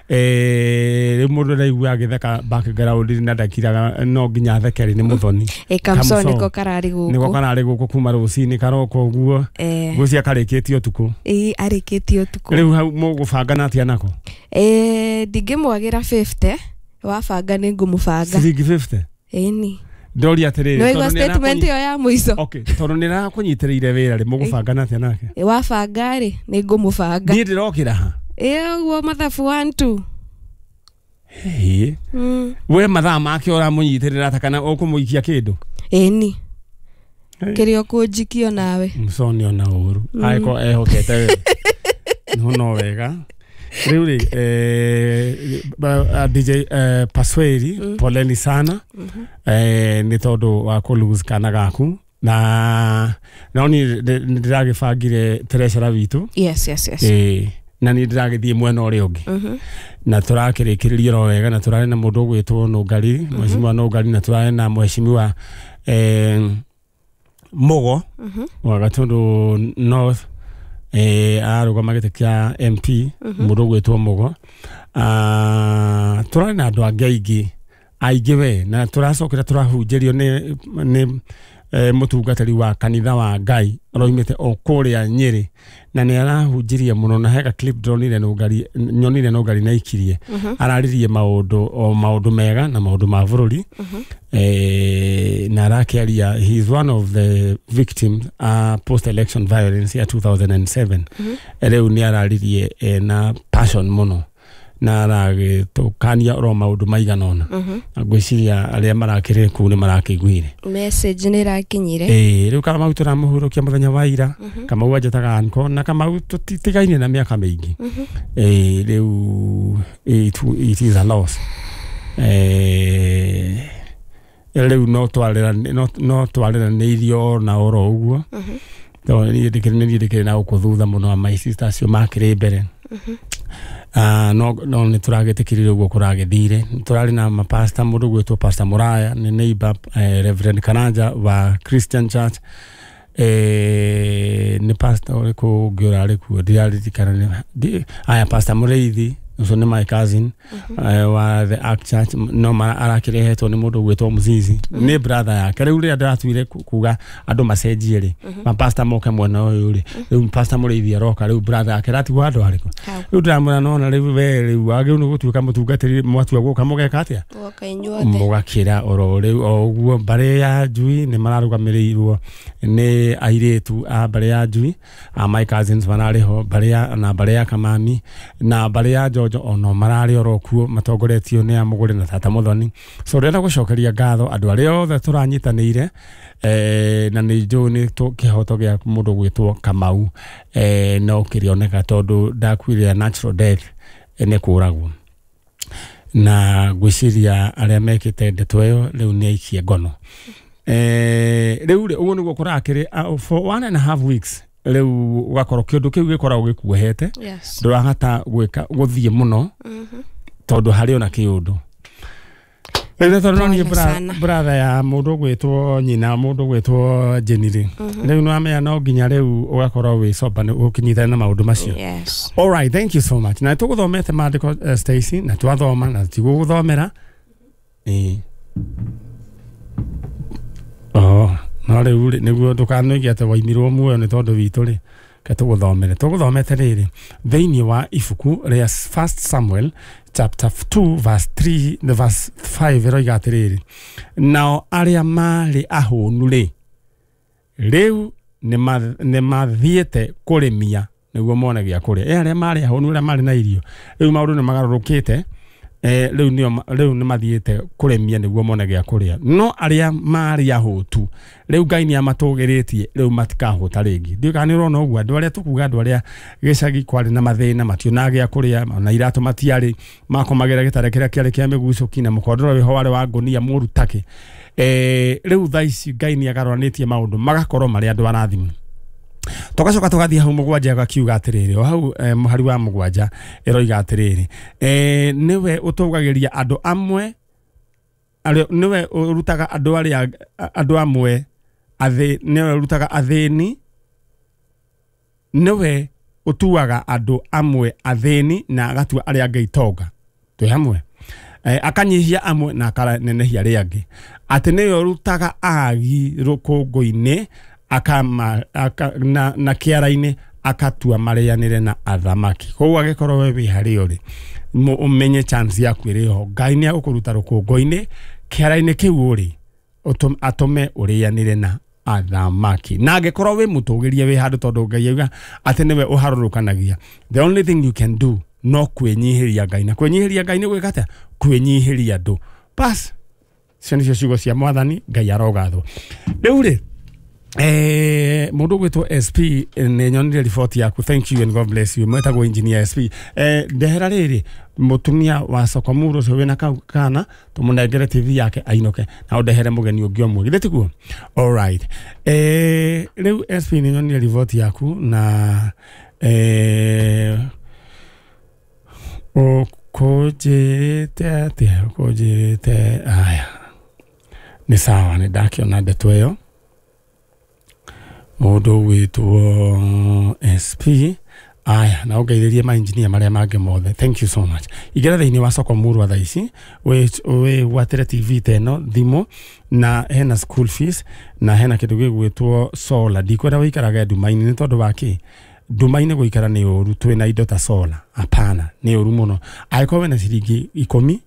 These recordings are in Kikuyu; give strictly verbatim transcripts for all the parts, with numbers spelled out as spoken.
Eh rĩu mũndũ araigua agĩtheka background na ndakiraga no nginya athekeri nĩ Muthoni. Ĩ Kamso nĩko kararĩ gũkũ. Nĩko kararĩ gũkũ kuma rũcinĩ karoka ũguo. Ngwĩciria karĩkĩtie ũtukũ. Ĩ arĩkĩtie ũtukũ. Rĩu hau mũgũbangana atĩa nako? Eh ndingĩmwagĩra fifty wabanga nĩ ngũmũbanga. Ciringi fifty? Ĩni. Ndoria atĩrĩrĩ, tondũ statement ĩyo ya mũico. Okay, tondũ nĩ arakũnyitĩrĩire wĩra rĩ, mũgũbangana atĩa nake? Wabanga rĩ, nĩ ngũmũbanga. Niĩ ndĩrokĩra ha? Ĩ ũguo mathabu one two. Hĩ. We mathaa make ũramũnyitĩrĩra ta kana ũkũmũikia kĩndũ? Ĩni. Kĩrĩa ũkũnjikio nawe. Mũconi ona ũru. Angĩkorwo ehokete we. No no wega. Rĩu rĩ, eh, D J eh, Pasweri, mm. poleni sana. Mm -hmm. Eh, nĩ tondũ wa kũ lose kana gaku. Na no ni ndĩragĩbangire treasurer witũ. Yes, yes, yes. Eh, na nĩ ndĩragĩthiĩ mwena ũrĩa ũngĩ. Mm -hmm. Na tũrakĩrĩkĩrĩria oro wega na tũrarĩ na mũndũ ũgwĩtwo Nũngari, mm -hmm. Mheshimiwa Nũngari, na tũrarĩ na Mheshimiwa eh, Mugo, mm -hmm. wa Gatundu North. Eh arugama gĩtĩ kĩa M P, mũndũ ũgwĩtwo Mugo. Ah, tũrarĩ na andũ angĩ aingĩ aingĩ we, na tũracokera tũrahunjĩrio nĩ nĩ eh, mũtungatĩri wa kanitha wa Ngai aroimĩte o kũrĩa Nyĩrĩ, na nĩ arahunjirie mũno, na hega clip ndonire Nũngari, nyonire Nũngari na ikirie. Araririe maũndũ o maũndũ mega na maũndũ ma bũrũri. Eh, na arakĩaria, he is one of the victims uh, post election violence ya two thousand seven. Rĩu nĩ araririe eh, na passion mũno, na aragĩtũkania oro maũndũ maigana ũna. Ngwĩciria arĩa marakĩrĩ kũu nĩ marakĩiguire message nĩ ĩrakinyire. Eh, rĩu Kamau tũramũhurũkia mũthenya wa ira. Kamau anjĩtaga uncle, na Kamau tũtigaine na mĩaka mĩingĩ. Eh, rĩu it, it is a loss. Eh, rĩu no twarĩra no no twarĩranĩirio na oro ũguo. Tondũ niĩ ndĩkĩrĩ niĩ ndĩkĩrĩ na gũkũ thutha mũno, my sister acio makĩrĩ mbere. Ah, no no nĩ tũragĩtĩkĩrire ũguo kũragĩthire. Tũrarĩ na mapasta, mũndũ ũgwĩtwo Pastor Muraya nĩ neighbor, eh, Reverend Karanja wa Christian Church. Eh, nĩ pastor ũrĩkũ ũngĩ ũrarĩ kuo ndiraririkana nĩ aya Pastor Mũrĩithi ũcio nĩ my cousin, eh, wa the Ark Church, no arakĩrehetwo nĩ mũndũ ũgwĩtwo Mũzizi, nĩ brother yake. Rĩu rĩrĩa ndĩratuire kuga andũ macenjie rĩ, mapasta moke mwena ũyũ rĩ, rĩu Pastor Mũrĩithi aroka, rĩu brother yake aratigwo handũ harĩkũ? Rĩu ndĩramwĩra nona rĩu we rĩu wagĩrĩirwo nĩ gũtuĩka mũtungatĩri, mwatua gũka mũgeka atĩa? Mũgakĩra oro rĩu o ũguo. Mbarĩ ya Njui nĩ mararũgamĩrĩirwo nĩ airĩtu a mbarĩ ya Njui, a my cousins mararĩ ho, mbarĩ ya na mbarĩ ya Kamami na mbarĩ ya Njonjo ono mararĩ oro kuo, matongoretio nĩ Amũgũre na Tata Muthoni. So ndĩrenda gũcokeria ngatho andũ arĩa othe tũranyitanĩire, eh, na nĩ njũĩ nĩ kĩhoto gĩa mũndũ gwĩtwo Kamau, eh, no kĩrĩoneka tondũ ndakuire natural death, eh, nĩ kũragwo. Na ngwĩciria arĩa mekĩte ndeto ĩyo rĩu nĩ aikie ngono. Eh, rĩu rĩ ũguo nĩguo kũrakĩrĩ for one and a half weeks. Rĩu ũgakorwo kĩũndũ kĩu gĩkoragwo gĩkuohete, ndũrahota gwĩka gũthiĩ mũno tondũ harĩ ona kĩũndũ. Rĩu tondũ no niĩ brother ya mũndũ ũgwĩtwo nyina, mũndũ ũgwĩtwo Jenny rĩ, rĩu nĩ wamenya no nginya rĩu ũgakorwo wĩ sober ũkĩnyitana na maũndũ macio. All right, thank you so much. Na tũgũthomete maandĩko, Stacy, na twathoma na tigũgũthomera. Ĩĩ. Oh, no rĩu rĩ nĩguo ndũkanoige atĩ waimirwo muoyo nĩ tondũ witũ rĩ, ke tũgũthomere. Tũgũthomete rĩrĩ thĩinĩ wa ibuku rĩa First Samuel chapter two verse three the verse five ĩroiga atĩrĩrĩ, nao arĩa marĩ ahũnu rĩ, rĩu nĩ mathiĩte kũrĩmia nĩguo mone gĩa kũrĩa. E arĩa marĩ ahũnu, arĩa marĩ na irio, rĩu maũndũ nĩ magarũrũkĩte, eh, rĩu nĩo rĩu nĩ mathiĩte kũrĩmia nĩguo mone gĩa kũrĩa. No arĩa marĩ ahũtu rĩu Ngai nĩ amatũgĩrĩtie, rĩu matikahũta rĩngĩ. Ndiũĩ kana nĩ ũrona ũguo, andũ arĩa tũkuga andũ arĩa gĩcagi kwarĩ na mathĩna, mationaga gĩa kũrĩa, ona iratũ matiarĩ, makomagĩra gĩtara kĩrĩa kĩarĩ kĩa mĩgucũki na mũkondoro wĩho warĩ wa ngũnia mũru takĩ. Eh, rĩu thaa ici Ngai nĩ agarũranĩtie maũndũ magakorwo marĩ andũ arathime. Tugacoka tugathiĩ hau mũgwanja gakiuga atĩrĩrĩ, o hau eh, mũhari wa mũgwanja ĩroiga atĩrĩrĩ, eh, nĩwe ũtũgagĩria andũ amwe, nĩwe ũrutaga andũ arĩa andũ amwe athĩ, nĩwe ũrutaga athĩni, nĩwe ũtuaga andũ amwe athĩni na agatua arĩa angĩ itonga. Twĩ hamwe. Eh, akanyihia amwe na akanenehia arĩa angĩ, atĩ nĩwe ũrutaga agi rũkũngũ-inĩ akama, aka, na, na kĩara-inĩ akatua marĩanĩre na athamaki. Koguo angĩkorwo we wĩ harĩa ũrĩ, ũmenye chance yaku ĩrĩ ho, Ngai nĩ agũkũruta rũkũngũ-inĩ kĩara-inĩ kĩu ũrĩ, atũme ũrĩanĩre na athamaki. Na angĩkorwo wĩ mũtũgĩrie wĩ handũ, tondũ Ngai auga atĩ nĩwe ũharũrũkanagia, the only thing you can do no kwĩnyihĩria Ngai. Na kwĩnyihĩria Ngai nĩ gwĩka atĩa? Kwĩnyihĩria andũ. Bas, icio nĩcio ciugo cia Mwathani. Ngai arogathwo. Rĩu rĩ, eh, mũndũ ũgwĩtwo S P, nĩ nyonire riboti yaku, thank you and God bless you. Mwetagwo engineer S P. Eh, ndehera rĩrĩ mũtumia wa Sokomuru ũcio wĩna kau kana tũmũnengere T V yake ainũke, na ũndehere mũgeni ũngĩ ũmwe, githĩ tiguo? Alright. Eh, rĩu S P nĩ nyonire riboti yaku na eh, ũkũnjĩrĩte atĩa? Ũkũnjĩrĩte aya, nĩ sawa, nĩ ndakĩona ndeto ĩyo. Mũndũ ũgwĩtwo S P, aya, na ũngeithĩrie ma engineer marĩa mangĩ mothe, thank you so much. Ingĩra thĩinĩ wa Sokomuru thaa ici, wĩgwatĩre T V ta ĩno, thimũ, na hena school fees, na hena kĩndũ gĩgwĩtwo solar. Ndikwenda wĩikarage nduma-inĩ nĩ tondũ wa kĩ? Nduma-inĩ gũikara nĩ ũru, twĩna indo ta solar, hapana, nĩ ũru mũno. Angĩkorwo wĩna ciringi ikũmi,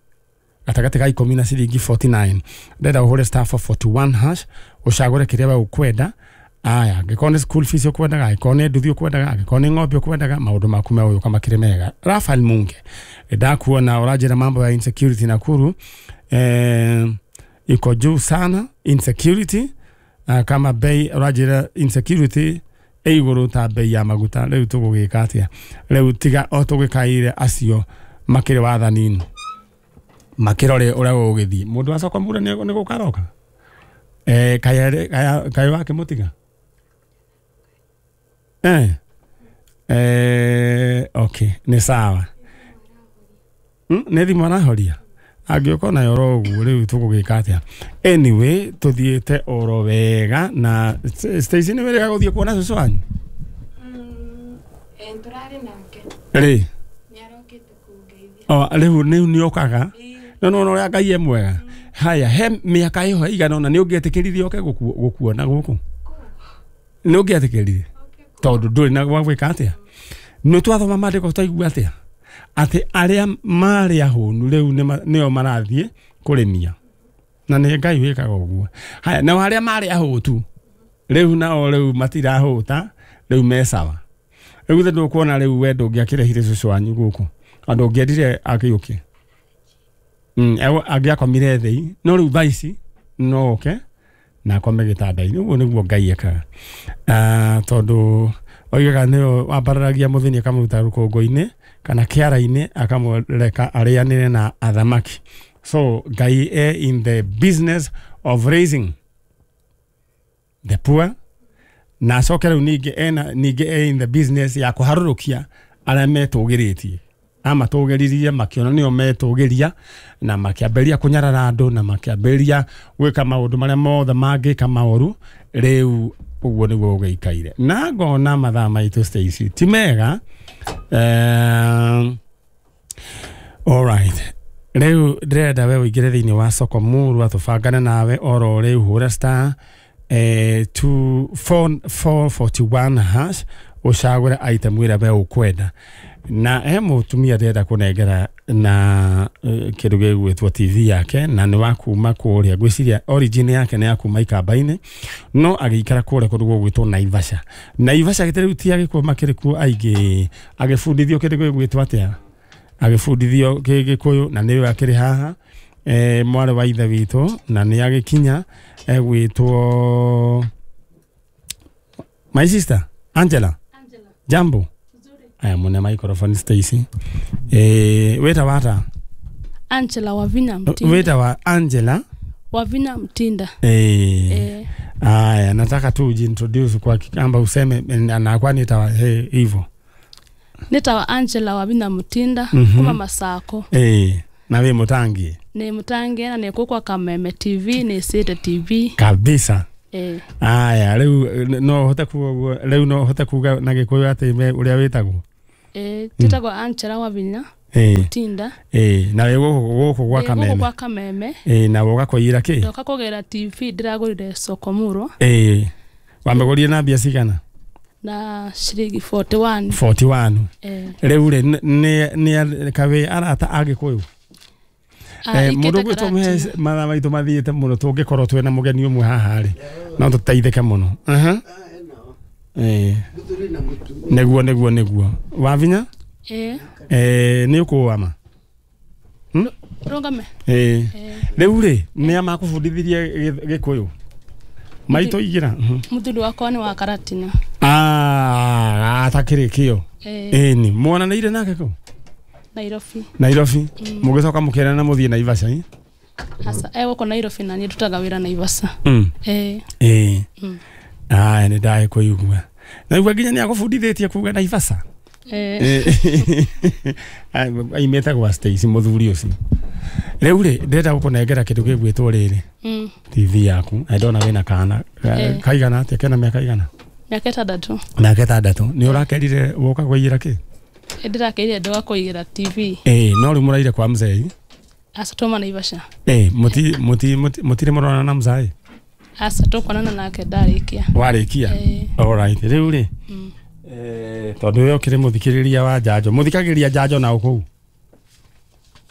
gatagatĩ ka ikũmi na ciringi forty nine, ndĩrenda ũhũre star four forty one hash, ũcagũre kĩrĩa we ũkwenda. Aya, angĩkorwo nĩ school fees ũkwendaga, angĩkorwo nĩ nduthi ũkwendaga, angĩkorwo nĩ ng'ombe ũkwendaga, maũndũ maku megũgĩũka makĩrĩ mega. Rafael Munge, ndakuona ũranjĩra mambo ya insecurity Nakuru, eh, iko juu sana insecurity, uh, kama bei ũranjĩra insecurity ĩ igũrũ ta bei ya maguta. Rĩu tũgũgĩka atĩa? Rĩu tiga o tũgĩkaire acio makĩrĩ wathani-inĩ, makĩrore ũrĩa gũgũgĩthiĩ. Mũndũ wa Sokomuru nĩ gũka aroka? Eh, kaĩ wakĩmũtiga? Eh, eh, okay, nĩ sawa. Mm, nĩ thimũ arahoria? Angĩũka nayo oro ũguo, rĩu tũgũgĩka atĩa? Anyway, tũthiĩte oro wega. Na Stacy nĩ wĩrĩga gũthiĩ kuona cũcũ wanyu? Mm, tũrarĩ nake. Rĩ? Nĩarokĩte kũngeithia. O, rĩu rĩu nĩokaga? No no ũrĩa Ngai e mwega. Haya, he mĩaka ĩho ĩigana ũna nĩ ũngĩetĩkĩririe oke gũkuona gũkũ? Nĩ ũngĩetĩkĩririe? Tondũ ndũrĩ na gwa gwĩka atĩa? Nĩ twathoma maandĩko twaigua atĩa? Atĩ arĩa marĩ ahũnu rĩu nĩo marathiĩ kũrĩmia. Na nĩ Ngai wĩkaga ũguo. Haya, nao arĩa marĩ ahũtu rĩu nao rĩu matirahũta, rĩu me sawa. Rĩu githĩ ndũkuona rĩu we ndũngĩakĩrehire cũcũ wanyu gũkũ? Andũ ũngĩendire akĩũke. Mm, angĩakomire thĩ, no rĩu thaa ici no oke na akome gĩtanda-inĩ. Ũguo nĩguo Ngai ekaga. Ah, tondũ oigaga nĩwe wambararagia mũthĩni akamũruta rũkũngũ-inĩ kana kĩara-inĩ akamũreka arĩanĩre na athamaki. So Ngai e in the business of raising the poor, na acoke rĩu ningĩ ena ningĩ e in the business ya kũharũrũkia arĩa metũgĩrĩtie. Amatũgĩririe makĩona nĩo metũgĩria, na makĩambĩrĩria kũnyarara andũ, na makĩambĩrĩria gwĩka maũndũ marĩa mothe mangĩka maũru. Rĩu ũguo nĩguo gũgĩikaire. Na ngona mathaa maitũ Stacy ti mega. Eh, alright. Rĩu ndĩrenda we ũingĩre thĩinĩ wa Sokomuru atũbangane nawe oro rĩu, hũra star eh, two four four forty one hash, ũcagũre item ĩrĩa we ũkwenda. Na he mũtumia ndĩrenda kũnengera na kĩndũ gĩgwĩtwo T V yake, na nĩ wa kuma kũrĩa, ngwĩciria origin yake nĩ ya kuma Ikamba-inĩ, no agĩikara kũrĩa kũndũ gũgwĩtwo Naivasha. Naivasha gĩtĩ rĩu ti agĩkuo makĩrĩ kuo aingĩ, agĩbundithio kĩndũ gĩgwĩtwo atĩa? Agĩbundithio Gĩkũyũ, na nĩwe akĩrĩ haha, eh, mwarĩ wa ithe witũ, na nĩ agĩkinya egwĩtwo my sister Angela. Angela. Jambo. Aya, mune microphone Stacy. Eh, weta wata? Angela Wavina Mtinda. Weta wa Angela Wavina Mtinda. Eh. Eh. Aya, nataka tu ujiintroduce kwa Kikamba useme na kwani itawa hivyo. Nitawa Angela Wavina Mtinda mm -hmm. kuma Masako. Eh, na we mutangi. Ni mutangi na ni kwa Kameme T V ni Sete T V. Kabisa. Eh. Aya, riu no hote kuga riu no hote kuga na Gikuyu ati uria witagwo. Eh, titagwo Angela Wavina. Ĩĩ. Mutinda. Ĩĩ, na wĩ gũkũ gũkũ gwa Ĩ, gũkũ Kameme. Gwa Kameme. Ĩĩ, na woka kũiyĩra kĩ? Ndoka kũgĩra T V ndĩragũrire soko murwa. Ĩĩ. Wamĩgũrire na mbia cigana? Na ciringi forty-one. forty-one. Eh. Rĩu rĩ, nĩ nĩ kawĩ arata a Gĩkũyũ? Ah, Mũndũ gwĩtwo mũhe mathaa maitũ mathiĩte mũno, tũngĩkorwo twĩna mũgeni ũmwe haha rĩ, no tũteithĩke mũno. Aha. Ĩĩ. Nĩguo nĩguo nĩguo. Wavinya? Ĩĩ. Eh, nĩ ũkũama? Hmm? Rũgame. Ĩĩ. Rĩu rĩ, nĩ a makũbundithirie Gĩkũyũ? Maitũ igĩra. Mũthuri wakwa nĩ wa Karatina. Ah, atakĩrĩ kĩo. Ĩĩ. Ĩni, mwananĩire nake kũ? Nairobi. Nairobi. Mũgĩcoka mũkĩerana na mũthiĩ Naivasha, ĩ? Asa, eh gũkũ Nairobi na niĩ ndutaga wĩra Naivasha. Mm. Ĩĩ. Ĩĩ. Mm. Aya, nĩ ndagĩkũigua. Naigua nginya nĩ agũbundithĩtie kuga Naivasha. Ĩĩ. Aimĩte gwa Stacy mũthuri ũcio. Rĩu rĩ, ndĩrenda gũkũnengera kĩndũ gĩgwĩtwo rĩrĩ. Mm. T V yaku. Na ndona wĩna kana. Kaigana atĩa? Kena mĩaka igana? Mĩaka ĩtandatũ. Mĩaka ĩtandatũ. Nĩ ũrakerire woka kũiyĩra kĩ? Ndĩrakeire ndoka kũigĩra T V. Ĩĩ, no rĩu mũraire kwa mzee. Asa tũma Naivasha. Ĩĩ, mũti mũti mũtirĩ mũronana na mzee? Asa tũkuonana nake ndarĩkia. Warĩkia? Ĩĩ. All right. Rĩu rĩ, Mm. eh tondũ we ũkĩrĩ mũthikĩrĩria wa njanjo, mũthikagĩrĩria njanjo na ũkũu?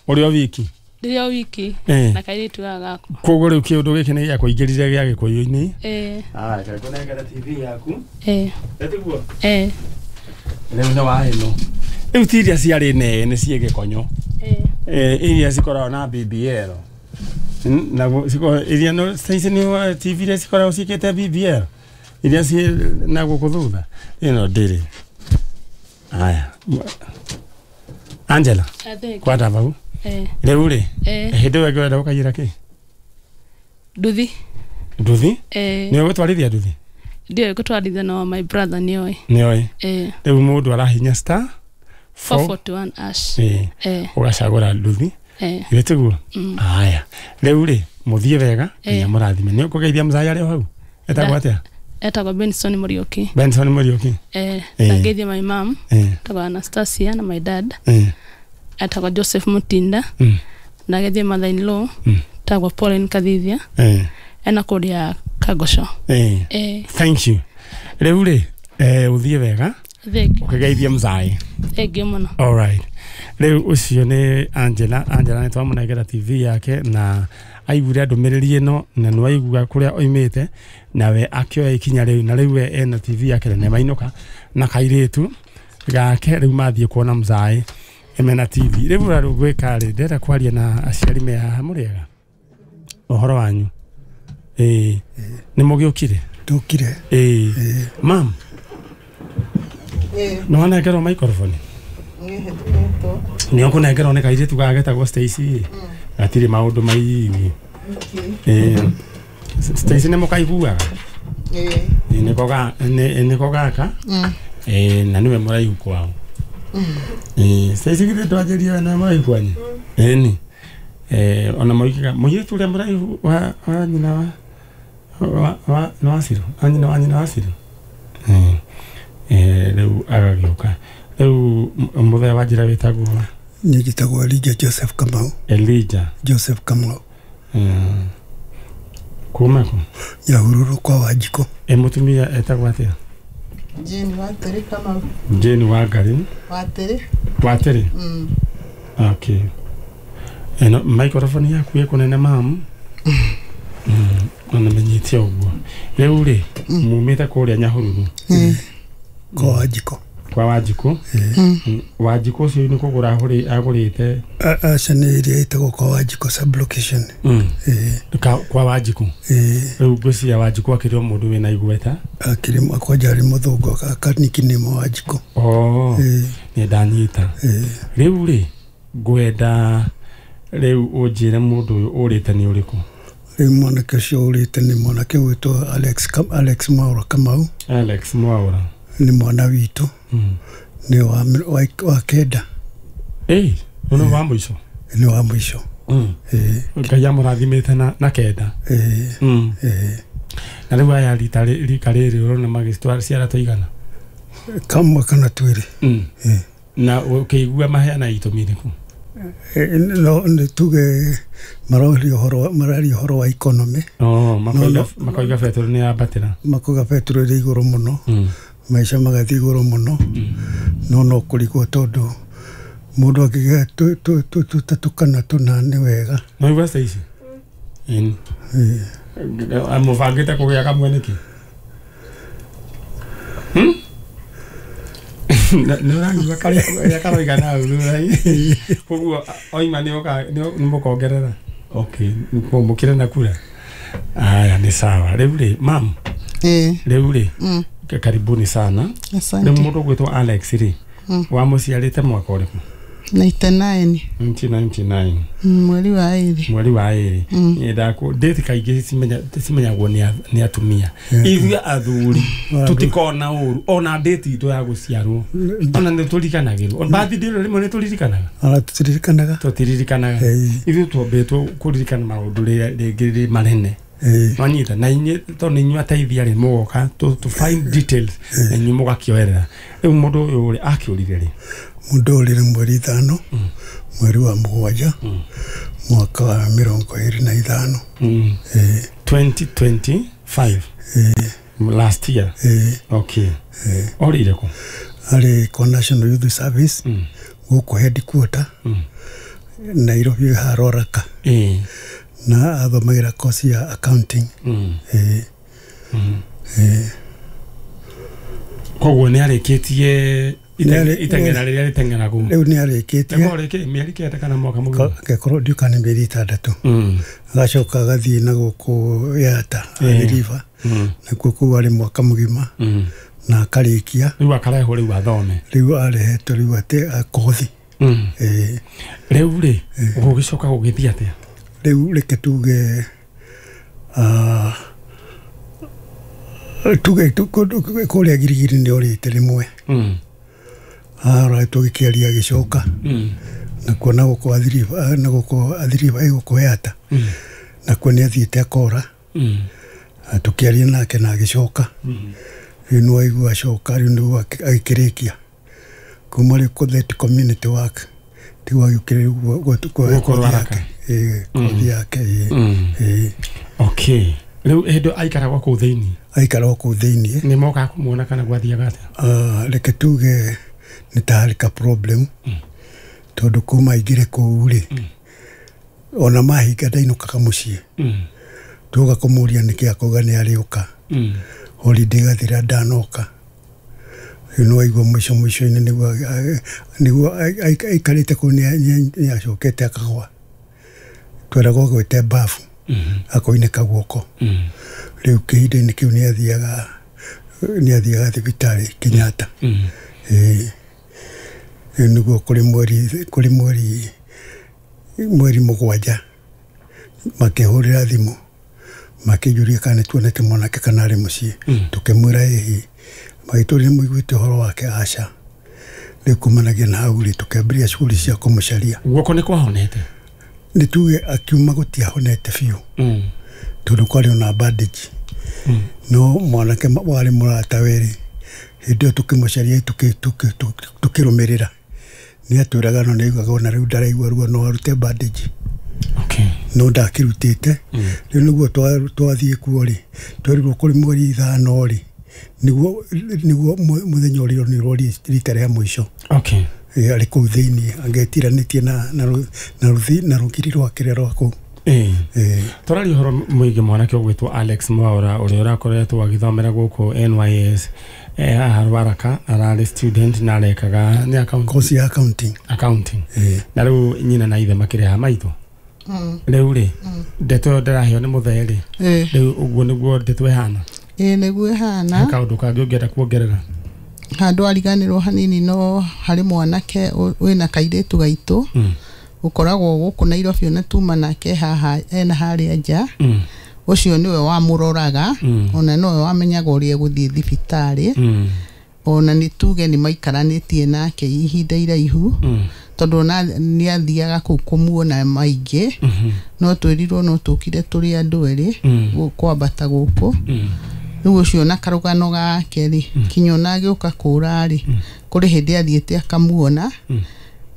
Ũrĩ o wiki? Ndĩrĩ o wiki na kairĩtu gaka gakwa. Koguo rĩu kĩũndũ gĩkĩ nĩ gĩakũingĩrire gĩa Gĩkũyũ-inĩ? Ĩĩ. Aya, reke ngũnengere T V yaku. Ĩĩ. Ĩtiguo? Ĩĩ. Rĩu nĩ wa ĩno. Rĩu ti iria ciarĩ nene ciĩ gĩkonyo. Ĩĩ. Eh, iria cikoragwo na B B L. Na iria no Stacy nĩ T V iria cikoragwo ciĩkĩte B B L. Iria ciĩ na gũkũ thutha. Ĩno ndĩrĩ. Aya. Angela. Kwata vau. Eh. Rĩu rĩ, Eh. hĩndĩ ĩyo ĩngĩ ũrenda gũkaiyĩra kĩ? Nduthi. Nduthi? Eh. Nĩwe gũtwarithia nduthi? Ndiũĩ gũtwarithia no my brother nĩoĩ. Nĩoĩ? Eh. Rĩu mũndũ arahinya star four forty-one ash. Eh. Eh. Ũgacagũra nduthi. Eh. Githĩ tiguo? Mm. Aya. Rĩu rĩ, mũthiĩ wega nginya mũrathime. Nĩ ũkũgeithia mzai arĩ o hau? Etagwo atĩa? Etagwo Benson Muriuki. Benson Muriuki. Eh. Ndageithia my mom. Eh. Etagwo Anastasia na my dad. Eh. Etagwo Joseph Mutinda. Mm. Ndageithia mother in law. Mm. Etagwo Pauline Kathithia. Eh. Ena kũrĩa Kagosho. Eh. Eh. Thank you. Rĩu rĩ, eh ũthiĩ wega. Thank you. Ũkĩgeithia mzai. Thank you mũno. All right. Rĩu ũcio nĩ Angela. Angela nĩ twamũnengera T V yake na aiguire ndũmĩrĩri ĩno na nĩ waigua kũrĩa oimĩte nawe akĩoya ikinya rĩu na rĩu we ena T V yake na nĩmainũka na kairĩtu gake rĩu mathiĩ kuona mzai mena T V. Rĩu ũrĩa gwĩka rĩ, ndĩrenda kwaria na aciari me haha. Mũrĩega? Ũhoro wanyu? Ĩĩ. Nĩ mũgĩũkire? Ndũkire. Ĩĩ. Mam. Ĩĩ. Nĩ wanengerwo microphone? Nĩ ũkũnengerwo nĩ kairĩtu gaka getagwo Stacy. Gatirĩ maũndũ maingĩ. Ĩĩ. Stacy nĩ mũkaiguaga? Ĩĩ. Nĩko ga nĩko gaka? Ĩĩ, na nĩwe mũraihu kwao. Ĩĩ, Stacy githĩ ndwanjĩria we nĩwe mũraihu kwanyu? Ĩni. Eh, ona moigaga mũirĩtu ũrĩa mũraihu wa wa nyina wa wa wa nĩ wa Ciru? Wa nyina wa nyina wa Ciru? Ĩĩ. Eh, rĩu agagĩũka. Rĩu mũthee wa njĩra wĩtagwo? Niĩ njĩtagwo Elijah Joseph Kamau. Elijah Joseph Kamau. Mm. Kuma kũ? Nyahururu kwa Wanjikũ. Ĩ mũtumia etagwo atĩa? Jane Watĩrĩ Kamau. Jane Wangari. Watĩrĩ. Watĩrĩ? Mm. Okay. Ĩno microphone yaku ĩkũnene mam. Mm. Ona menyite ũguo. Rĩu rĩ, mumĩte kũrĩa Nyahururu. Kwa Wanjikũ. Kwa Wanjikũ. Wanjikũ ũcio nĩ kũgũra agũrĩte? Aca nĩ ĩrĩa ĩtagwo kwa Wanjikũ sub-location. Kwa Wanjikũ. Rĩu ngwĩciria Wanjikũ akĩrĩ o mũndũ wĩna igweta. Akĩrĩ kwanja arĩ mũthũngũ akanikinĩmwo Wanjikũ. Oh. Nĩ ndanyita. Rĩu rĩ, ngwenda rĩu ũnjĩre mũndũ ũyũ ũrĩte nĩ ũrĩkũ? Rĩu mwanake ũcio ũrĩte nĩ mwanake ũgwĩtwo Alex Alex Mwaura Kamau. Alex Mwaura. Nĩ mwana witũ. Nĩ wa wa kenda. Ĩĩ, nĩ wa mũico? Nĩ wa mũico. Ĩĩ. Ngai amũrathimĩte na na kenda. Ĩĩ. Ĩĩ. Na rĩu aya rita rika rĩrĩ ũrona magĩtwara ciara tũigana? Kamwe kana twĩrĩ. Ĩĩ. Na ũkĩigua maheana itũmi irĩkũ? No nĩ tuge maroria ũhoro mararia ũhoro wa economy. Oh, makoiga makoiga betũrũ nĩ yambatĩra. Makoiga betũrũ ĩrĩ igũrũ mũno. Mm. Maica magathiĩ igũrũ mũno. No no kũrigwo tondũ mũndũ akĩgĩa tũtatũ kana tũna nĩ wega. No igua ici? Ĩni. Mũbangĩte kũgĩa kamwe nĩkĩ? Hmm? Nĩ ũraigua karĩa karoiga na thutha-inĩ. Koguo oima nĩ ũka nĩ mũkongerera. Okay, mũkĩre na kura. Aya nĩ sawa. Rĩu rĩ, mam. Eh. Rĩu rĩ. Mm. Karibuni sana. Asante. Rĩu mũndũ ũgwĩtwo Alex rĩ. Mm. Wamũciarĩte mwaka ũrĩkũ? ninety-nine. nineteen ninety-nine. Mweri wa ĩrĩ. Mweri wa ĩrĩ. Nyendaga date kaingĩ cimenya cimenyagwo nĩ atumia. Ithuĩ athuri tutikona ũru ona date itũ ya gũciarwo. Ona nĩ tũriganagĩrwo. Birthday rĩmwe nĩ tũririkanaga. Ona tũtiririkanaga. Tũtiririkanaga. Ithuĩ twombĩtwo kũririkana maũndũ rĩngĩ manene. Nwanyita na inyuĩ tondũ nĩ inyuĩ ateithia rĩ mũgoka to to find details na inyuĩ mũgakĩoerera. Rĩu mũndũ ũyũ rĩ akĩũrire rĩ? Mũndũ ũrire mweri ithano mweri wa mũgwanja mwaka wa mĩrongo ĩrĩ na ithano. twenty twenty-five. Last year. Okay. Orire kũ? Arĩ kwa National Youth Service gũkũ headquarter Nairobi Haroraka. Na athomagĩra course ya accounting. Koguo nĩ arĩkĩtie iteng'era rĩrĩa rĩteng'eragwo. Rĩu nĩ arĩkĩtie. Nĩguo rĩkĩ mĩeri kenda kana mwaka mũgima? Gekorwo ndiũka nĩ mĩeri ĩtandatũ. Agacoka agathiĩ na gũkũ Yata Athi River. Nakuo kũu arĩ mwaka mũgima na akarĩkia. Rĩu akarehwo rĩu athome. Rĩu arehetwo rĩu atĩ kothi. Rĩu rĩ gũgĩcoka gũgĩthiĩ atĩa? Rĩu reke tuge tuge kũrĩa Girigiri nĩ orĩte rĩmwe. Ara tũgĩkĩaria agĩcoka nakuo na gũkũ Athi River na gũkũ Athi River ĩ gũkũ Yata nakuo nĩ athiĩte akora. Tũkĩaria nake na agĩcoka. Rĩu nĩ waigua acoka rĩu nĩguo agĩkĩrĩkia kuma rĩu kũ community work tiguo agĩũkĩrĩria Gũkũ Ruaraka. Kothi yake. Okay. Rĩu hĩndĩ aikaragwo kũu thĩinĩ? Aikaragwo kũu thĩinĩ. Nĩ mokaga kũmuona kana gwathiaga atĩa? Reke tuge nĩ ta harĩ ka problem tondũ kuma aingĩre kũu rĩ ona mahinga ndainũkaga mũciĩ. Tuoka kũmũria nĩkĩ akauga nĩ arĩũka. Holiday ĩgathira ndanoka. Rĩu nĩ waigua mũico mũico-inĩ nĩguo nĩguo aikarĩte kũu nĩ acokete akagwa. Tweragwo gwĩte bafu akoinĩka guoko. Rĩu kĩhinda-inĩ kĩu nĩ athiaga nĩ athiaga thibitarĩ Kenyatta. Rĩu nĩguo kũrĩ mweri kũrĩ mweri mweri mũgwanja makĩhũrĩra thimũ makĩnjũria kana nĩtuonete mwanake kana arĩ mũciĩ. Tũkĩmwĩra ĩĩ. Magĩtũria nĩmũiguĩte ũhoro wake? Aca. Rĩu kumanagia na hau rĩ tũkĩambĩrĩria shughuli cia kũmũcaria. Guoko nĩ kwahonete? Nĩ tuge akiuma gũtiahonete biũ tondũ kwarĩ ona bandage. No mwanake warĩ mũratawe rĩ hĩndĩ ĩyo tũkĩmũcaria tũkĩrũmĩrĩra nĩ atwĩraga no nĩaiguaga ona rĩu ndaraigua ruo no arute bandage. No ndakĩrutĩte. Rĩu nĩguo twathiĩ kuo rĩ twerirwo kũrĩ mweri ithano rĩ nĩguo nĩguo mũthenya ũrĩa nĩrwo rita rĩa mũico. Okay. Arĩ kũu thĩinĩ angĩtiranĩtie na na rũgiri rwake rwa kũu. Tũraria ũhoro mũingĩ mwanake ũgwĩtwo Alex Mwaura ũrĩa ũrakoretwo agĩthomera gũkũ N Y S haha Ruaraka, ararĩ student na arekaga nĩ accounting. Course ya accounting. Accounting. Na rĩu nyina na ithe makĩrĩ haha maitũ. Rĩu rĩ ndeto ĩyo ndĩraheo nĩ mũthee rĩ rĩu ũguo nĩguo ndeto ĩhana? Ĩĩ nĩguo ĩhana. Kaũndũ kangĩ ũngĩenda kuongerera? Handũ ariganĩrwo hanini no harĩ mwanake wĩna kairĩtu gaitũ ũkoragwo gũkũ Nairobi ona tuma nake haha ena harĩa nja. Ũcio nĩwe wamũroraga ona nowe wamenyaga ũrĩa egũthiĩ thibitarĩ. Ona nĩ tuge nĩ maikaranĩtie nake ihinda iraihu tondũ ona nĩ athiaga kũu kũmuona maingĩ. No twĩrirwo no tũkire tũrĩ andũ erĩ kwambata gũkũ. Rĩu ũcio na karũgano gake rĩ kinya ona agĩũka kũra rĩ kũrĩ Kũrĩ hĩndĩ athiĩte akamuona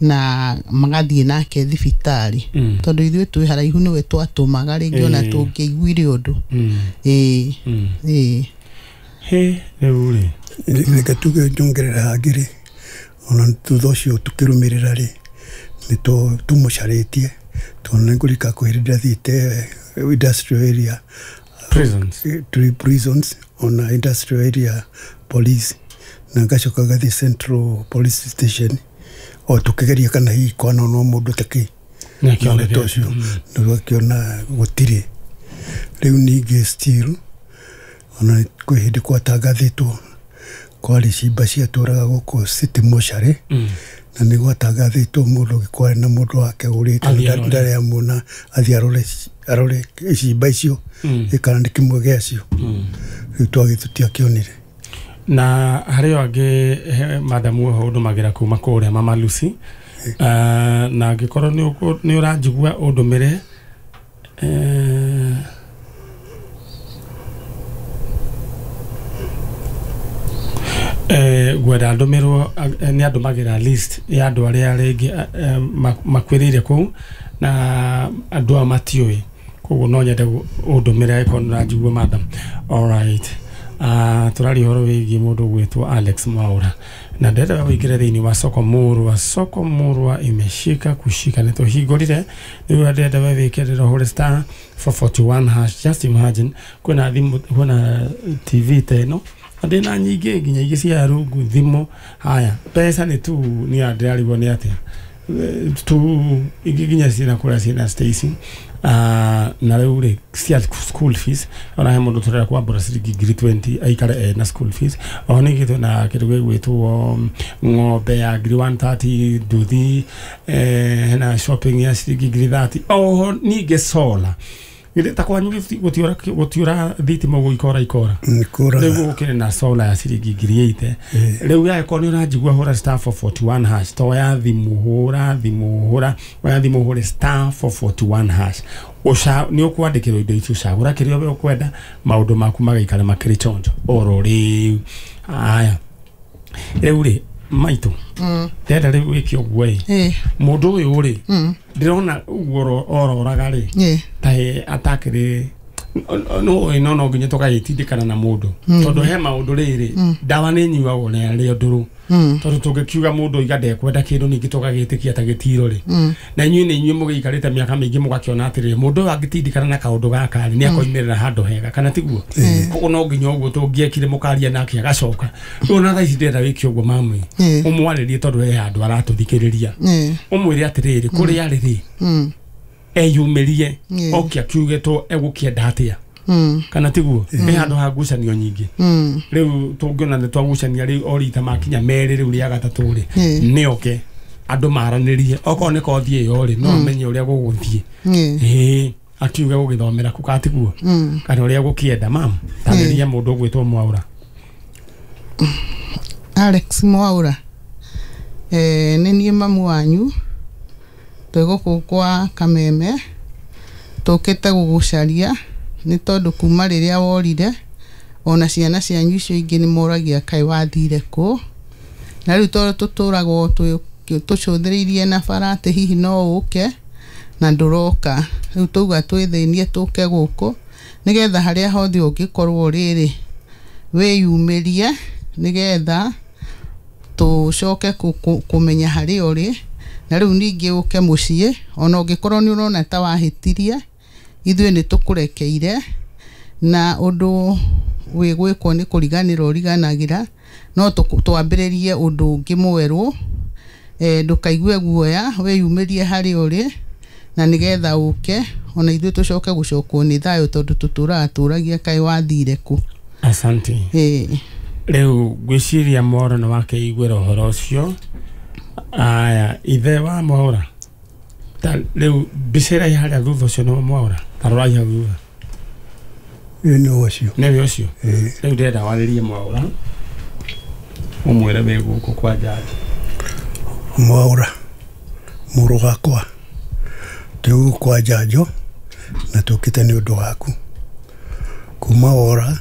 na magathiĩ nake thibitarĩ tondũ ithuĩ twĩ haraihu nĩwe twatũmaga rĩngĩ ona tũngĩiguire ũndũ. Ĩĩ ĩĩ. He rĩu rĩ reke tuge nyongerera hangĩ rĩ ona thutha ũcio tũkĩrũmĩrĩra rĩ nĩ tũmũcarĩtie tondũ nĩ ngũrika kwĩ hĩndĩ ndathiĩte industrial area prisons prisons ona industrial area police na ngacoka ngathiĩ Central Police Station o tũkĩgeria kana hihi kwana no mũndũ takĩ nĩ ũcio nĩgakĩona gũtirĩ. Rĩu ningĩ still ona kwĩ hĩndĩ gwatangathĩtwo kwarĩ cimba ciatũraga gũkũ City Mortuary na nĩ gwatangathĩtwo mũndũ kwarĩ na mũndũ wake ũrĩte ndarĩ amuona athiĩ arore arore cimba icio kana nĩ kĩmwe gĩacio. Rĩu twagĩ tũtiakĩonire. Na harĩ o angĩ madamu oho ũndũmagĩra kuma kũrĩa Mama Lucy na angĩkorwo nĩ ũranjigua ũndũmĩre ngwenda ndũmĩrwo nĩ andũmagĩra list ya andũ arĩa rĩngĩ makuĩrĩire kũu na andũ aya matiũĩ koguo no nyende ũndũmĩre angĩkorwo nĩ ũranjigua madam. Alright. Uh, tũraria ũhoro wĩgiĩ mũndũ ũgwĩtwo Alex Mwaura na ndĩrenda wĩingĩre thĩinĩ wa soko murwa. Soko murwa imeshika kushika nĩ tũhingũrire rĩu ndĩrenda we wĩkĩrĩre ũhũre star four forty-one hash. Just imagine kwĩna thimũ kwĩna T V ta ĩno na ndĩna nyingĩ nginya ingĩ cia rungu thimũ. Haya mbeca nĩ tu nĩ ndĩrarigwo nĩ atĩa tu ingĩ nginya ciĩna kũrĩa ciĩna Stacy. Uh, na rĩu rĩ cia school fees ona he mũndũ tũrenda kwambũra ciringi ngiri twenty aikare na school fees. Oho ningĩ twĩna kĩndũ gĩgwĩtwo ng'ombe ya ngiri one thirty nduthi eh, hena shopping ya ciringi ngiri thirty. Oho ningĩ solar ta kwanyu gũtiũra gũtiũra thitima ũguo ikora ikora rĩu gũkĩrĩ na solar ya ciringi ngiri eighty. Rĩu yagĩkorwo nĩ ũranjigua hũra star four forty-one hash to ya thimũ hũra thimũ hũra oya thimũ hũre star four forty-one hash ũca nĩ ũkwandĩkĩrwo indo icio ũcagũra kĩrĩa we ũkwenda maũndũ maku magaikara makĩrĩ chonjo oro rĩu. Aya rĩu rĩ maitũ ndĩrenda rĩu wĩke ũguo ĩ mũndũ ũyũ rĩ ndĩrona ũguo ororaga rĩ ta atakĩrĩ no no no nginya tũgagĩtindĩkana na mũndũ tondũ he maũndũ rĩrĩ ndawa nĩ nyuagwo na arĩa ndũrũ tondũ tũngĩkiuga mũndũ oiga ndekwenda kĩndũ ningĩ tũgagĩtĩkia ta gĩtiro rĩ na inyuĩ nĩ inyuĩ mũgĩikarĩte mĩaka mĩingĩ mũgakĩona atĩrĩrĩ mũndũ ũyũ angĩtindĩkana na kaũndũ gaka rĩ nĩ akoimĩrĩra handũ hega kana tiguo. Koguo no nginya ũguo tũngĩekire mũkaria nake agacoka. Rĩu ona thaa ici ndĩrenda wĩke ũguo mami ũmwarĩrie tondũ he handũ aratũthikĩrĩria ũmwĩre atĩrĩrĩ kũrĩa arĩ rĩ eyumĩrie oke akiuge to egũkĩenda atĩa kana tiguo he handũ ha ngucanio nyingĩ. Rĩu tũngĩona nĩ twagucania rĩu o rita makinya merĩ rĩu rĩa gatatũ rĩ nĩ oke andũ maranĩrie okorwo nĩ kothi ĩyo rĩ no amenye ũrĩa gũgũthiĩ ĩĩ akiuge gũgĩthomera kũ kana tiguo kana ũrĩa gũkĩenda. Mam tarĩria mũndũ ũgwĩtwo Mwaura. Alex Mwaura eh nĩ niĩ mamu wanyu twĩ gũkũ kwa Kameme tũkĩte gũgũcaria nĩ tondũ kuma rĩrĩa worire ona ciana cianyu icio ingĩ nĩ moragia kaĩ wathire kũ na rĩu tondũ tũtũragwo tũcũthĩrĩirie na bara atĩ hihi no ũke na ndũroka rĩu tauga twĩthĩnie tũke gũkũ nĩgetha harĩa hothe ũngĩkorwo rĩrĩ wĩyumĩrie nĩgetha tũcoke kũmenya harĩa ũrĩ na rĩu ningĩ ũke mũciĩ ona ũngĩkorwo nĩ ũrona ta wahĩtirie ithuĩ nĩ tũkũrekeire na ũndũ wĩ gwĩkwo nĩ kũriganĩrwo ũriganagĩra no twambĩrĩrie ũndũ ũngĩ mwerũ eh, ndũkaigue guoya wĩyumĩrie harĩa ũrĩ na nĩgetha ũke ona ithuĩ tũcoke gũcokwo nĩ thayũ tondũ tũtũraga tũragia kaĩ wathire kũ. Asante. Ĩĩ rĩu ngwĩciria Mwaura nĩ wakeiguĩra ũhoro ũcio. Aya ithe wa Mwaura ta rĩu mbica ĩrĩa ĩ harĩa thutha ũcio nĩ Mwaura ta rorai hau thutha Ĩĩ nĩ ũcio nĩwe ũcio. Rĩu ndĩrenda warĩrie Mwaura ũmwĩre wĩ gũkũ kwa Njanjo. Mwaura mũrũ wakwa twĩ gũkũ kwa Njanjo na tũkĩte nĩ ũndũ waku kuma wora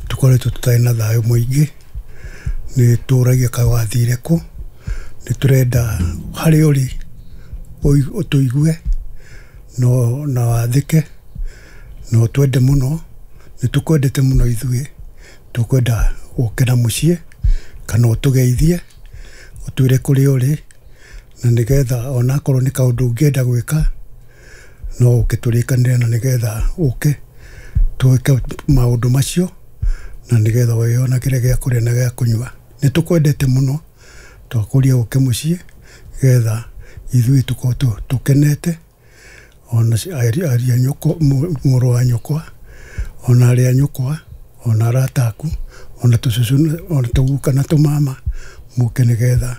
tũkoretwo tũtarĩ na thayũ mũingĩ Nĩ tũragia kaĩ wathire kũ, nĩ tũrenda harĩa ũrĩ ũtũigue no na wathĩke na ũtwende mũno. Nĩ tũkwendete mũno ithuĩ, tũkwenda ũke na mũciĩ kana ũtũgeithie ũtwĩre kũrĩa ũrĩ, na nĩgetha onakorwo nĩ kaũndũ ũngĩenda gwĩka no ũke tũrĩkanĩre, na nĩgetha ũke twĩke maũndũ macio, na nĩgetha wĩyonagĩre gĩa kũrĩa na gĩa kũnyua. Nĩ tũkwendete mũno, twakũria ũke mũciĩ nĩgetha ithuĩ tũkorwo tũkenete, ona aria nyũkwa, mũrũ wa nyũkwa, ona arĩa nyũkwa, ona arata aku, ona tũcũcũ, ona tũguka na tũmama mũke nĩgetha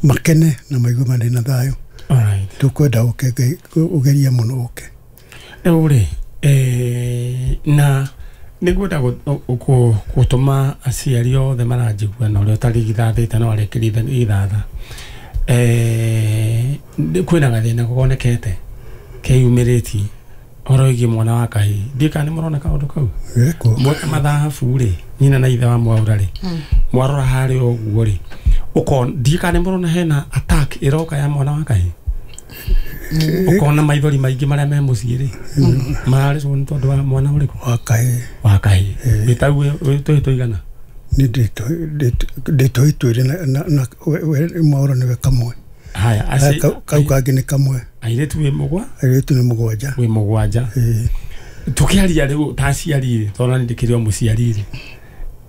makene na maigue marĩ na thayũ. Alright. Tũkwenda ũke, ũgerie mũno ũke. Rĩu rĩ, eh, na nĩngwenda gũtũma aciari othe maranjigua na ũrĩa ũtarĩ githathĩte no arĩkĩrie githatha. Eh, kwĩna gathĩna gonekete keyumĩrĩtie ũhoro wĩgiĩ mwana wa kahĩĩ. Ndiũĩ kana nĩ mũrona kaũndũ kau. Mweka mathabu rĩ, nyina na ithe wa Mwaura rĩ, mwarora harĩa ũguo rĩ, ũkona ndiũĩ kana nĩ mũrona hena attack ĩroka ya mwana wa kahĩĩ. Ũkona maithori maingĩ marĩa me mũciĩ rĩ, mararĩrwo nĩ tondũ wa mwana ũrĩkũ? Wa kahĩĩ. Wa kahĩĩ. Wĩtaguo tũhĩĩ tũigana? Nĩ ndĩ tũhĩĩ twĩrĩ na Mwaura nĩwe kamwe. Haya, aci kau kangĩ nĩ kamwe. Airĩtu wĩ mũgwa? Airĩtu nĩ mũgwanja. Wĩ mũgwanja. Tũkĩaria rĩu ta aciari rĩ, tondũ nĩ ndĩkĩrĩ o mũciari rĩ,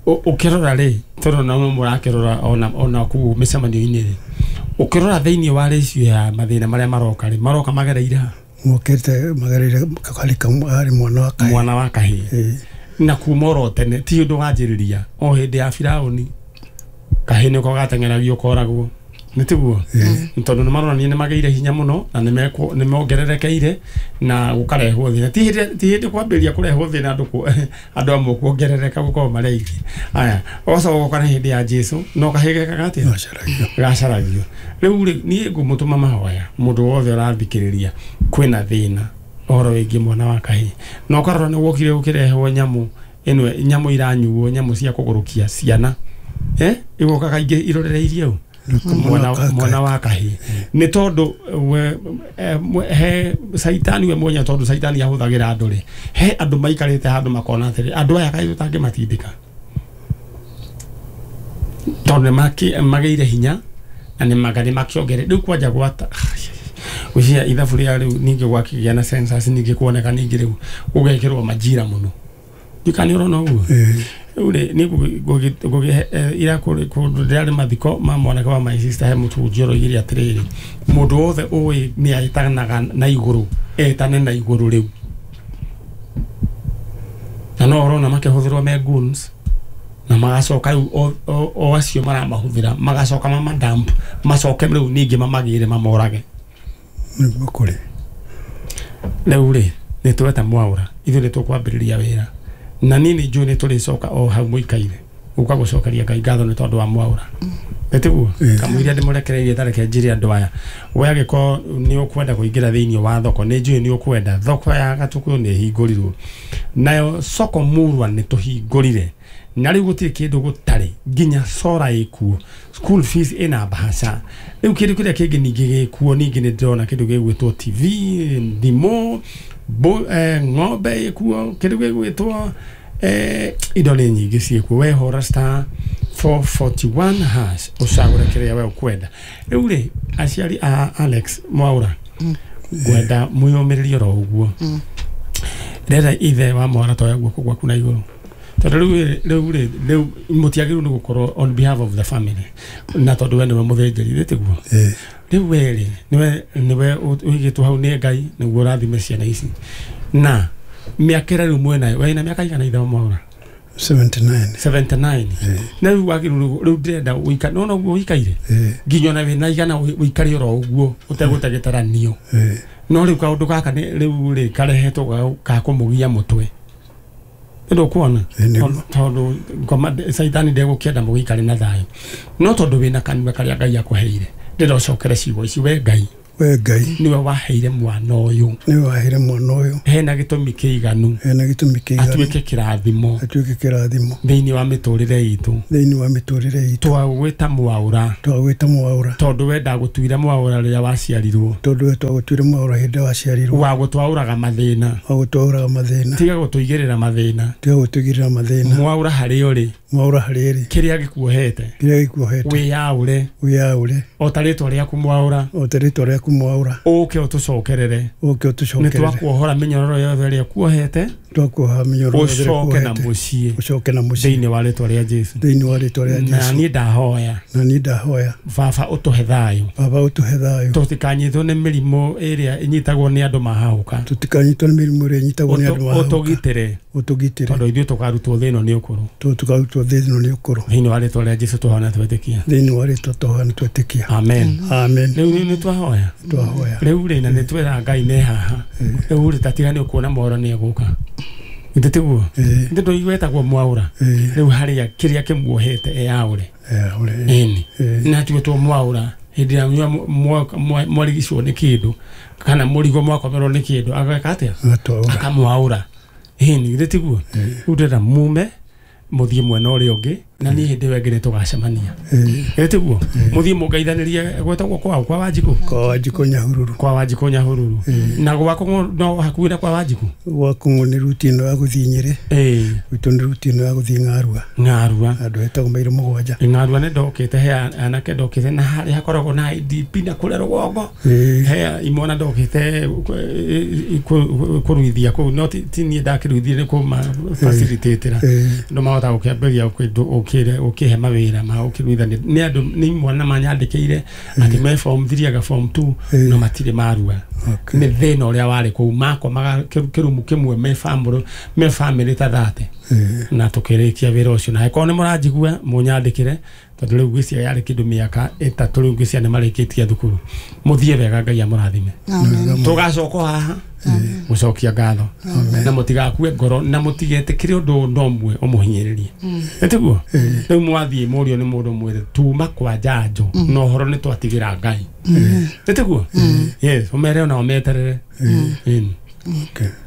ũkĩrora rĩ, tondũ no mũrakĩrora ona ona kũu mĩcemanio-inĩ rĩ, ũkĩrora thĩinĩ wa ratio ya mathĩna marĩa maroka rĩ, maroka magereire ha? Mokĩte magereire harĩ mwana wa kahĩĩ. Mwana wa kahĩĩ. Na kuma oro tene ti ũndũ wanjĩrĩria o hĩndĩ ya Firaũni kahĩĩ nĩko gateng'eragio koragwo, nĩ tiguo? Tondũ nĩ maronania nĩ magĩire hinya mũno na nĩ mongererekeire na gũkarehwo thĩna. Ti hĩndĩ ti hĩndĩ kwambĩrĩria kũrehwo thĩna andũ andũ amwe kuongerereka gũkorwo marĩ aingĩ. Aya, ũgacoka ũgoka nĩ hĩndĩ ya Jesũ no kahĩĩ gekaga atĩa? Gacaragio. Rĩu rĩ, niĩ ngũmũtũma mahoya mũndũ wothe ũrathikĩrĩria kwĩna thĩna ũhoro wĩgiĩ mwana wa kahĩĩ, na ũkarora nĩ wokire ũkĩrehwo nyamũ ĩno, nyamũ iranyuo, nyamũ cia kũgũrũkia ciana, eh, igoka kaingĩ irorereirie ũ mwana mwana wa kahĩĩ. Nĩ tondũ he caitani we mwenyewe, tondũ caitani ahũthagĩra andũ rĩ, he andũ maikarĩte handũ makona atĩrĩ, andũ aya kaĩ tũtangĩmatindĩka, tondũ nĩ magĩire hinya na nĩ makĩongere rĩu kwanja gwata gwĩciria ithabu rĩa rĩu ningĩ gwakĩgĩa na census ningĩ kuoneka ningĩ rĩu gũgekĩrwo majira mũno. Ndiũĩ kana nĩ ũrona ũguo. Rĩu rĩ, niĩ ira kũndũ ndĩrarĩ mathiko ma mwanake wa my sister, he mũhunjia ũroigire atĩrĩrĩ, mũndũ wothe ũĩ nĩ etanaga na igũrũ, etane na igũrũ rĩu. Na no ũrona makĩhũthĩrwo me goons, na magacoka rĩu o acio maramahũthĩra magacoka mamadamp, macoke rĩu ningĩ mamagĩre mamorage. Nĩguo kũrĩ. Rĩu rĩ, nĩ tweta Mwaura, ithuĩ nĩ tũkwambĩrĩria wĩra, na niĩ nĩ njũĩ nĩ tũrĩcoka o hau mũikaire gũka gũcokeria Ngai ngatho nĩ tondũ wa Mwaura. Nĩ tiguo? Kamũira ndĩmũrekereirie tareke njĩre andũ aya, we angĩkorwo nĩ ũkwenda kũingĩra thĩinĩ wa thoko, nĩ njũĩ nĩ ũkwenda, thoko ya Gatũkũyũ nĩ ĩhingũrirwo, nayo soko Murwa nĩ tũhingũrire, na rĩu gũtirĩ kĩndũ gũtarĩ, nginya sora ĩkuo, school fees ĩna mbahaca. Rĩu kĩndũ kĩrĩa kĩngĩ ningĩ gĩkuo, ningĩ nĩ ndĩrona kĩndũ gĩgwĩtwo T V, thimũ, ng'ombe ĩkuo, kĩndũ gĩgwĩtwo eh, indo nĩ nyingĩ ciĩkuo. We hũra star four forty-one hash ũcagũre kĩrĩa we ũkwenda. Rĩu rĩ, aciari a Alex Mwaura, ngwenda mwĩyũmĩrĩrie oro ũguo. Ndĩrenda ithe wa Mwaura toya guoko gwaku na igũrũ, tondũ rĩu rĩu rĩ, rĩu mũtiagĩrĩirwo nĩ gũkorwo on behalf of the family, na tondũ we nĩwe mũthĩnjĩri, tiguo? Rĩu we rĩ, nĩwe nĩwe ũigĩtwo hau nĩ Ngai nĩguo ũrathime ciana ici. Na mĩaka ĩrĩa rĩu mwĩnayo, wĩna mĩaka igana ithe wa Mwaura? seventy-nine. seventy-nine. Na rĩu wagĩrĩirwo rĩu ndĩrenda ũikare, nĩwona ũguo ũikaire nginya ona wĩna igana ũikare oro ũguo ũtegũtegetaranio. No rĩu kaũndũ gaka rĩu rĩ karehetwo ga kũmũgia mũtwe, nĩ ndũkuona, tondũ caitani ndegũkĩenda mũgĩikare na thayũ, no tondũ wĩna kanua karĩa Ngai akũheire, ndĩrenda ũcokere ciugo ici, we Ngai We Ngai niwe waheire mwana ũyũ. Niwe waheire mwana ũyũ. Hena gĩtũmi kĩiganu. Hena gĩtũmi kĩiganu. Atuĩke kĩrathimo. Atuĩke kĩrathimo. Thĩinĩ wa mĩtũrĩre itũ. Thĩinĩ wa mĩtũrĩre itũ. Twagwĩta Mwaũra. Twagwĩta Mwaũra. Tondũ we ndagũtuire Mwaũra rĩrĩa waciarirwo. Tondũ we twagũtuire Mwaũra hĩndĩ waciarirwo. Wagũtwaũraga mathĩna. Wagũtwaũraga mathĩna. Tiga gũtũigĩrĩra mathĩna. Tiga gũtũigĩrĩra mathĩna. Mwaũra harĩa ũrĩ. Mwaũra harĩa ĩrĩ. Kĩrĩa gĩkuohete. Kĩrĩa gĩkuohete. Wĩyaũre. Wĩyaũre. O ta rĩtwa rĩaku Mwaũra. O ta rĩtwa rĩaku Mwaũra. Ũke ũtũcokerere. Ũke ũtũcokerere. Nĩ twakuohora mĩnyororo yothe ĩrĩa kuohete. Twakuoha mĩnyororo yothe ĩrĩa kuohete. Ũcoke na mũciĩ. Ũcoke na mũciĩ. Thĩinĩ wa rĩtwa rĩa Jesũ. Thĩinĩ wa rĩtwa rĩa Jesũ. Na niĩ ndahoya. Na niĩ ndahoya. Baba ũtũhe thayũ. Baba ũtũhe thayũ. Tũtikanyitwo nĩ mĩrimũ ĩrĩa ĩnyitagwo nĩ andũ mahahũka. Tũtikanyitwo nĩ mĩrimũ ĩrĩa ĩnyitagwo nĩ andũ mahahũka. Ũtũgitĩre. Ũtũgitĩre. Tondũ ithuĩ tũkarutwo thĩ ĩno nĩ ũkũrũ. Tondũ tũkarutwo thĩ ĩno nĩ ũkũrũ. Thĩinĩ wa rĩtwa rĩa Jesũ tũhoya twetĩkia. Thĩinĩ wa rĩtwa tũhoya twetĩkia. Amen. Amen. Rĩu nĩ twahoya. Twahoya. Rĩu rĩ na nĩ twĩra Ngai nĩ haha. Rĩu rĩ tatiga nĩ ũkuona mohoro nĩ egũka. Nĩ tiguo? Nĩ tũigwetagwo Mwaũra. Rĩu harĩa kĩrĩa kĩmuohete eyaũre. Eyaũre. Ĩni. Na tuĩtwo Mwaũra hĩndĩ ĩrĩa mwarigicwo nĩ kĩndũ kana mũrigo mwakomerwo nĩ kĩndũ ageka atĩa? Akamwaũra. Ĩni nĩ tiguo? Rĩu ndĩrenda mume mũthiĩ mwena ũrĩa ũngĩ na niĩ hĩndĩ ĩyo ĩngĩ nĩ tũgacemania. Ĩ tiguo? Mũthiĩ mũngeithanĩrie gwetagwo kwao kwa Wanjikũ? Kwa Wanjikũ Nyahururu. Kwa Wanjikũ Nyahururu. Na gwakũ no hakuhĩ na kwa Wanjikũ? Gwakũ nĩ ruti ĩno ya gũthiĩ Nyĩrĩ. Ĩĩ. Gwitũ nĩ ruti ĩno ya gũthiĩ Ng'arua. Ng'arua. Handũ hetagwo Mairũ mũgwanja. Ng'arua nĩ ndokĩte he anake ndokĩte na harĩa hakoragwo na I D P na kũrĩa rũgongo. He imwana ndokĩte kũruithia kũu no ti niĩ ndakĩruithirie nĩ kũma facilitatĩra. Andũ mahota gũkĩambĩrĩria ũkĩhe mawĩra ma ũkĩruithania nĩ andũ nĩ imwana manyandĩkĩire atĩ me form three aga form two no matirĩ marua. Nĩ thĩna ũrĩa warĩ kũu makomaga kĩrumu kĩmwe me family me family ta thate na tũkĩrĩkia wĩra ũcio na angĩkorwo nĩ mũranjigua mũnyandĩkĩre tondũ rĩu ngwĩciria yarĩ kĩndũ mĩaka ĩtatũ rĩu ngwĩciria nĩ marĩkĩtie thukuru. Mũthiĩ wega Ngai amũrathime. Tũgacoka haha gũcokia ngatho na mũtigakue ngoro na mũtigetĩkĩre ũndũ no ũmwe ũmũhinyĩrĩrie. Nĩ tiguo? Rĩu mwathiĩ mũrio nĩ mũndũ mwĩre tuma kwa njanjo na ũhoro nĩ twatigĩra Ngai. Nĩ tiguo? Yes, ũmere ona ũmeterere.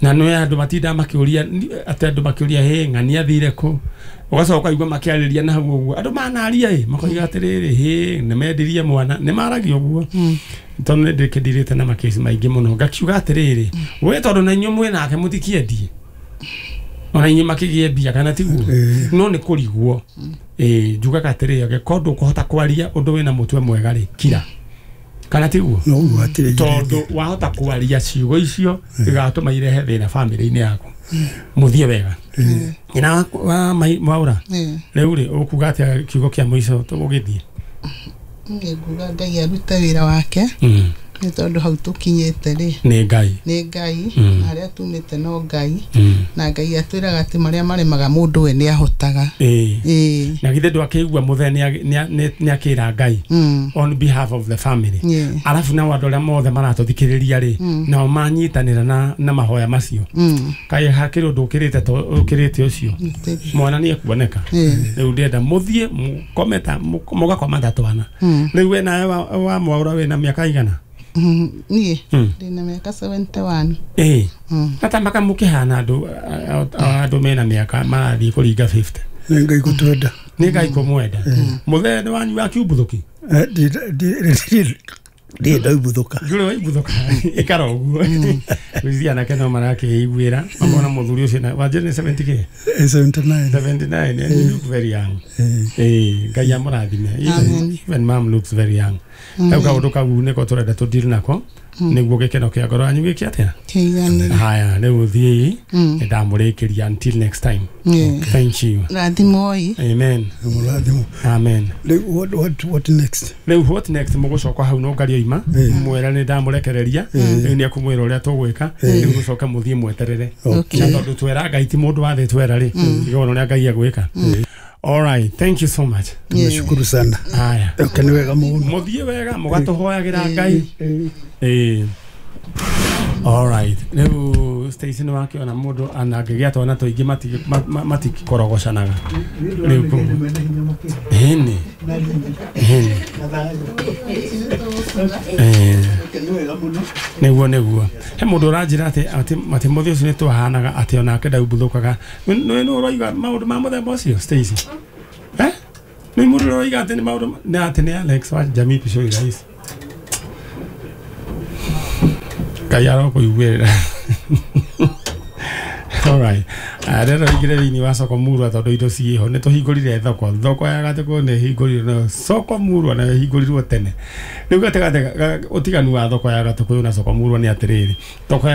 Na nĩ andũ matindaga makĩũria atĩ andũ makĩũria hĩ ng'ani athire kũ ũgacoka ũkaigua makĩarĩria na hau ũguo andũ manaria ĩ makoiga atĩrĩrĩ hĩ nĩ mendirie mwana nĩ maragia ũguo tondũ nĩ ndĩkĩndirĩte na makĩci maingĩ mũno ngakiuga atĩrĩrĩ we tondũ na inyuĩ mwĩ nake mũtikĩendie ona inyuĩ makĩgĩe mbia kana tiguo no nĩ kũrigwo ĩ njugaga atĩrĩrĩ angĩkorwo ndũkũhota kwaria ũndũ wĩna mũtwe mwega rĩ kira kana tiguo tondũ wahota kwaria ciugo icio igatũma irehe thĩna bamĩrĩ-inĩ yaku. Mũthiĩ wega. Nyina wa Mwaũra rĩu rĩ ũkuga atĩa kiugo kĩa mũico tũgũgĩthiĩ? Niĩ nguga Ngai arute wĩra wake nĩ tondũ hau tũkinyĩte rĩ nĩ Ngai nĩ Ngai na harĩa tumĩte no Ngai na Ngai atwĩraga atĩ marĩa maremaga mũndũ we nĩ ahotaga. Ĩĩ. Na githĩ ndwakĩigua mũthee nĩ akĩra Ngai on behalf of the family. Arabu nao andũ arĩa mothe maratũthikĩrĩria rĩ nao manyitanĩra na na mahoya macio kaĩ hakĩrĩ ũndũ ũkĩrĩte ũkĩrĩte ũcio mwana nĩ ekuoneka. Rĩu ndĩrenda mũthiĩ mũkome ta mũgakoma ta twana. Rĩu we nawe wa Mwaũra wĩna mĩaka igana? Niĩ ndĩna mĩaka seventy one. Ĩĩ. Na ta maka mũkĩhana andũ andũ mena mĩaka marathiĩ kũringa fifty. Nĩ Ngai gũtwenda. Nĩ Ngai kũmwenda. Mũthee nĩ wanyu wa kiumbuthũki? Ndirĩ ndaumbũthũka. Ndũrĩ waimbuthũka. Ĩkara ũguo. Ngwĩciria anake no marakĩiguĩra makona mũthuri ũcio wanjĩra nĩ seventy kĩ? seventy nine. seventy nine and you look very young. Ĩĩ Ngai amũrathime. Even mom looks very young. Rĩu kaũndũ kau nĩko tũrenda tũdeal nako nĩguo gĩkeno kĩa ngoro yanyu gĩke atĩa? Kĩiganĩre. Haya rĩu thiĩi nĩ ndamũrĩkĩria until next time. Thank you. Rathimoi. Amen. Mũrathimo. Amen. Rĩu what what what next? Rĩu what next mũgũcoka hau no ngario ima mwĩra nĩ ndamũrekereria rĩu nĩ ekũmwĩra ũrĩa tũgwĩka rĩu gũcoka mũthiĩ mweterere na tondũ twera Ngai ti mũndũ wa thĩ twera rĩ igona ũrĩa Ngai egwĩka. All right, thank you so much. Tumeshukuru sana. Haya. Okay, ni wega muno. Muthie wega mugatuhoyagira Ngai. Eh. All right. Rĩu Stacy nĩ wakĩona mũndũ anangĩgĩa twana tũingĩ mati- ma- ma- matikorogocanaga rĩu kũguo. Ĩni, ĩni. Eh. Nĩguo nĩguo he mũndũ ũranjĩra atĩ atĩ atĩ mũthĩ ũcio nĩ twahanaga atĩ onake ndaumbuthũkaga. Nĩ nĩ ũroiga maũndũ ma mũthemba ũcio, Stacy? Eh, nĩ mũndũ ũroiga atĩ nĩ maũndũ ma- nĩ atĩ nĩ Alex wa Jamii Pishoi Rais. Ngai arokũiguĩrĩra. Alright. Rero ingire thĩinĩ wa soko murwa tondũ indo ciĩho nĩ tũhingũrire thoko thoko ya Gatũkũ nĩ ĩhingũrirwo nayo soko murwa nayo ĩhingũrirwo tene. Rĩu gatagatĩ ga- ũtiganu wa thoko ya Gatũkũyũ na soko murwa nĩ atĩrĩrĩ, thoko ya